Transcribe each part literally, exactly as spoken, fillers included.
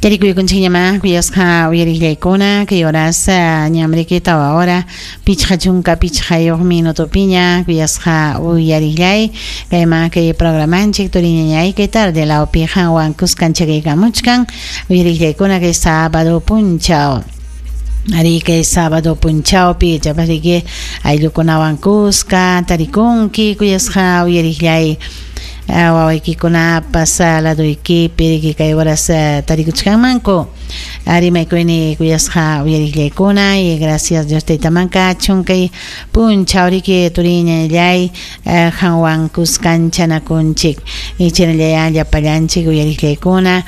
Tarikuykunchikñamá kuyasqa uyariqllaykuna kay horas ñamriki tawa hora pichqa chunka pichqayuq minutopiña kuyasqa uyariqllay kayman kay programanchik turiñañay kay tarde lawpi qanwan kuskanchakaykamuchkan uyariqllaykuna kay sábado punchaw. Ari kay sábado punchawpi chapariki ayllukunawan kuska tarikunki kuyasqa uyariqllay wawaykikunapas laduykipi riki kay horas tarikuchkanmanku rimaykuyni kuyasqa uyariqllaykuna y gracias Dios taytaman kachun kay punchaw riki turiñallay qanwan kuskanchanakunchik y chaynallaya llapallanchik uyariqllaykuna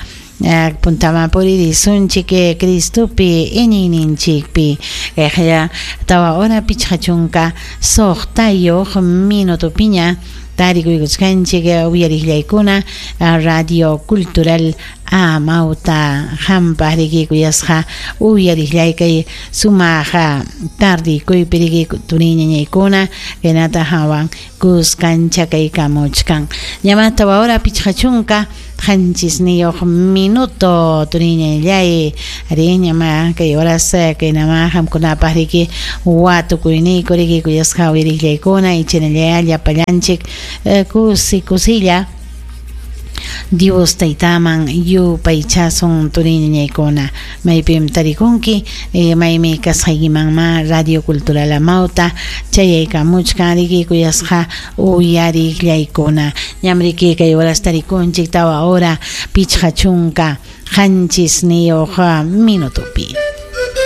puntaman puririsunchik Cristopi iñiyninchikpi kayqa tawa hora pichqa chunka suqtayuq minutopiña tarikuykuchkanchik uyariqllaykuna Radio Cultural Amauta hampaq riki kuyasqa uyariqllay kay sumaq tardikuypi riki turiñañaykuna kaynata hawan kuskanchakaykamuchkan ñama tawa hora pichqa chunka qanchisniyuq minuto turiñallay ari ñama kay horas kaynama qamkunapaq riki watukuyniyku riki kuyasqa uyariqllaykuna y chaynallaya llapallanchik kusi kusilla Dios taytaman yupaychasun turiñañaykuna maypim tarikunki maymi kasqaykimanma Radio Cultural Amauta chayaykamuchkan riki kuyasqa uyariqllaykuna ñam riki kay horas tarikunchik tawa hora pichqa chunka qanchisniyuq minutopi.